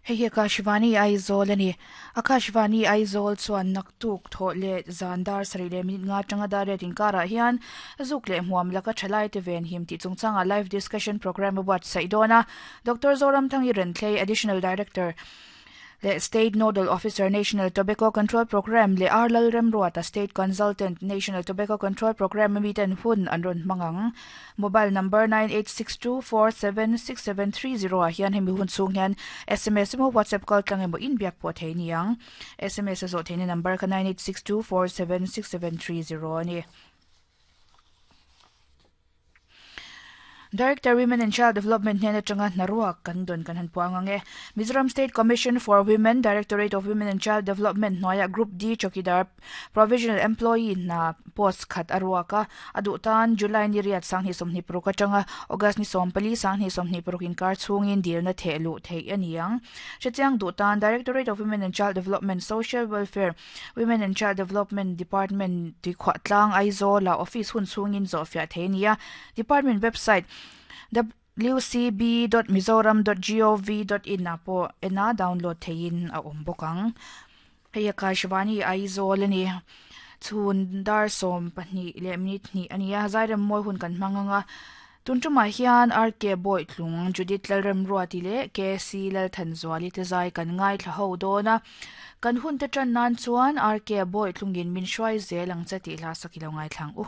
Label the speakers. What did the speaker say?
Speaker 1: Hei hi Akashvani Aizawl a ni. Akashvani Aizawl chuan naktuk thawh leh zan dar sarih leh minute nga atanga dar riat inkarah hian zuk leh hmuam laka thalai te venhim tih chungchangah live discussion programme a buatsaih dawn a. Doctor Zoramthangi Renthlei, Additional Director, leh State Nodal Officer, National Tobacco Control Programme leh R Lalremruata, State Consultant, National Tobacco Control Programme a miten hun an rawn hmang ang. Mobile number 9862476730 ah hian hemi hun chhung hian sms emaw WhatsApp kal tlang emaw inbiak pawh thei a ni ang. Sms a zawh theihna number kha 9862476730 a ni. Director Women and Child Development hnen atanga hnaruak kan dawn kan han puang ang e. Mizoram State Commission for Women, Directorate of Women and Child Development hnuaiah Group D Chowkidar Provisional Employee hna post khat a ruak a, a duh tan July ni riat 20 26 atanga August ni 14 20 26 inkar chhungin dilna theh luh theih a ni ang. Hrechiang duh tan Directorate of Women and Child Development, Social Welfare, Women and Child Development Department Tuikhuah tlang Aizawla office hun chhungin zawhfiah thei a ni a, Department website wcb.mizoram.gov.in ah pawh en a download theihin a awm bawk ang. Hei Akashvani Aizawl a ni. Chhun dar 12 leh minute hnih a ni a, Zairem mawi hun kan hmang ang a. Tun tumah hian RK Bawitlung, Judith Lalremruati leh KC Lalthanzuali te zai kan ngaithla ho dawn a. Kan hunte tan nan chuan RK Bawitlungin min hruai zel ang che tih hla sak i lo ngaithla ang u.